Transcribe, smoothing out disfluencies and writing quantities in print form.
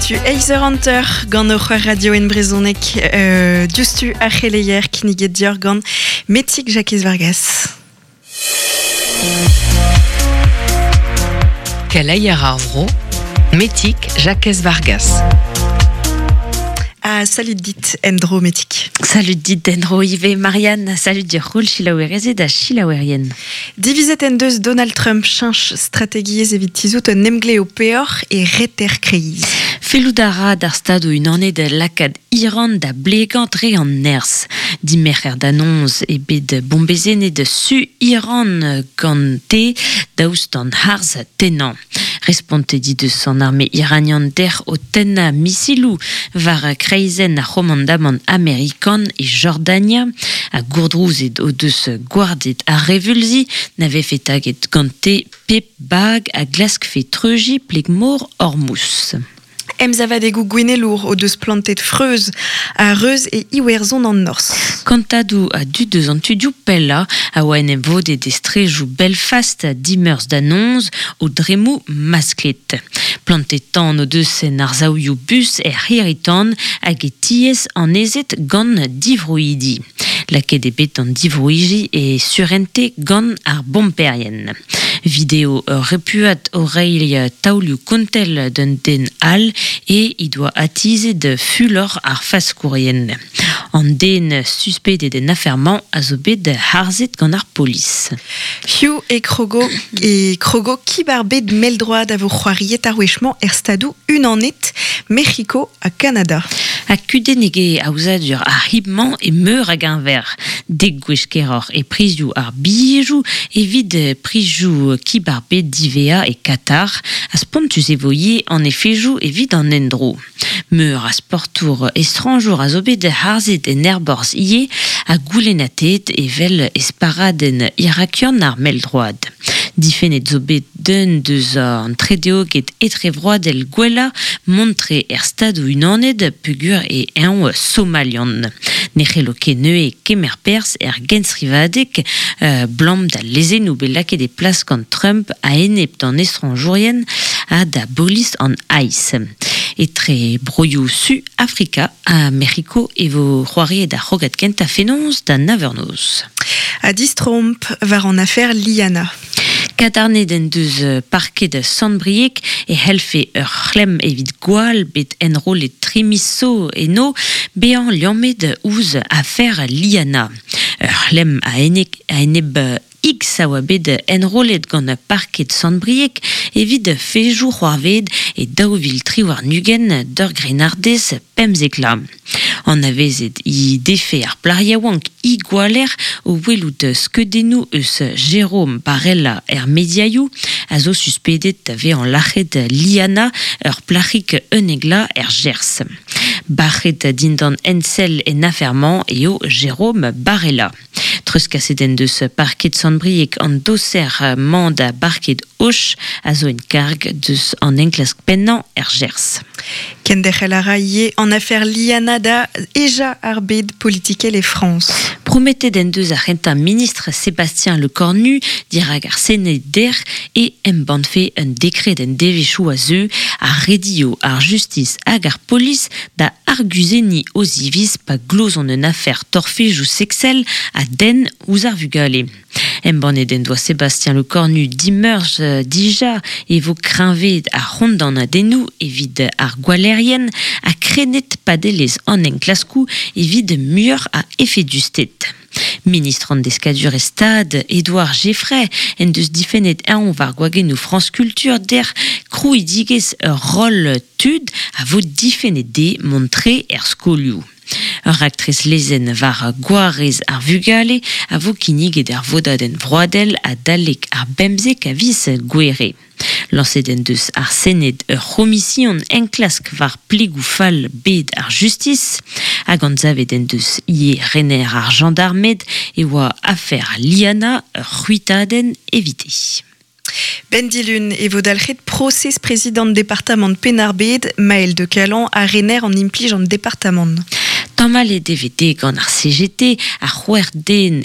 Setu eizh eur hanter gant hoc'h radio en brezhoneg diouzhtu ar c'heleier kinniget deoc'h gant Metig Jakez Vargas. Keleier ar vro, Metig Jakez Vargas. Ah, salut dit en-dro Metig. Salut dit en-dro ivez Marianne, salut dir c'houl selaouerezed ha selaouerien. Divizet en deus Donald Trump cheñch strategiezh evit tizhout un emglev peoc'h e reter kreiz. Fellout a ra d'ar Stadoù-Unanet lakaat Iran da blegañ dre an nerzh. Dimerc'her da noz eo bet bombezennet su Iran gante daoust d'an harz tennañ. Respontet he deus an arme iranian dec'h o tennañ misiloù war kreizenn ar c'homandamant amerikan e Jordania ha gourdrouzet o deus gwarded ar reveulzi na vefe taget gante pep bag a glaskfe treujiñ pleg-mor Hormuz. Emsavadegoù gouennelour o deus plantet freuz ha reuz e Iwerzhon an Norzh. Kantadoù a dud eus an tudioù pellañ a oa en em vodet e strejoù Belfast dimeurzh da noz, o dremmoù masklet. Plantet tan o deus en arsaoùioù bus er c'hirri-tan hag e tiez annezet gant divroidi. Lakaet eo bet an divroidi e surente gant ar bomperien. Video ur repuad o reiñ taolioù kontell d'un den all e he doa atizet fulor ar faskourien. An den suspedet en afer-mañ a zo bet harzet gant ar polis. Hiziv e krogo e krogo kib ar bed mell-droad a vo c'hoariet ar wech-mañ er Stadoù Unanet, Mec'hiko ha Kanada. Ha kudennek eo aozadur ar c'hib-mañ e meur a geñver. Dek gwech keroc'h e prizioù ar bilhejoù evit prizioù kib ar bed diwezhañ e Katar, ha spontus e vo ivez an efejoù evit an endro. Meur a sportour estrañjour a zo bet harzet en aerborzh ivez ha goulennatet evel esparadenn irakian ar mell-droad. Difennet zo bet d'un deus an tredeoged etrevroadel gwellañ mont-tre er Stadoù-Unanet peogwir eo eñ somalian. Ne c'hello ket neuze kemer perzh er genstrivadeg 'blam d'al lezennoù bet lakaet e plas gant Trump a-enep d'an estrañjourien ha da bolis an ICE. Etre broioù Su Afrika ha Mec'hiko e vo c'hoariet ar c'hrogad kentañ fenoz da nav eur noz. Ha distroomp war an afer Liana. Kadarnet en deus parked Sant-Brieg e c'hellfe ur c'hlemm evit gwall bet enrollet tri miz zo eno bezañ liammet ouzh afer Liana. Ur c'hlemm a-enep X a oa bet enrollet gant parked Sant-Brieg evit fejoù c'hoarvezet e 2023 d'ur grennardez 15 vloaz. Anavezet he defe ar plac'h yaouank he gwaller o welout skeudennoù eus Jérôme Barella er mediaioù, a zo suspedet da vezañ lac'het Liana, ur plac'hig 11 vloaz er Gers. Bac'het dindan ensell en afer-mañ eo Jérôme Barella. Treuzkaset en deus parked Sant-Brieg an doser-mañ da barked Och a zo en karg deus an enklask pennañ er Gers. Kenderc'hel a ra ivez an afer Liana da hejañ ar bed politikel e Frañs. Prometet en deus ar c'hentañ ministr Sébastien Lecornu dirak ar Sened dec'h e embannfe un dekred en devezhioù a zeu a redio ar justis hag ar polis da arguzenniñ o ziviz pa glozont un afer torfejoù seksel a denn ouzh ar vugale. Embannet en doa Sébastien Lecornu dimeurzh dija e vo kreñvaet ar c'hondanadennoù evit ar gwallerien ha krennet padelezh an enklaskoù evit muioc'h a efedusted. Ministr an Deskadurezh Stad, Edouard Geffray, en deus difennet eñ war gwagennoù France Culture dec'h krouidigezh ur roll tud a vo difennet dezhe mont-tre er skolioù. Ur raktres lezenn war gwarez ar vugale a vo kinniget er vodadenn vroadel adalek ar bemzek a viz Gouere. Lañset en deus ar Sened ur c'homision enklask war plegoù fall bed ar justis hag anzavet en deus ivez rener ar jañdarmed e oa afer Liana ur c'hwitadenn evite. Benn dilun e vo dalc'het prosez prezidant departamant Penn-ar-Bed, Maël de Calan, ha rener an implij an departamant. Tamallet e vez gant ar CGT ar c'hwec'h den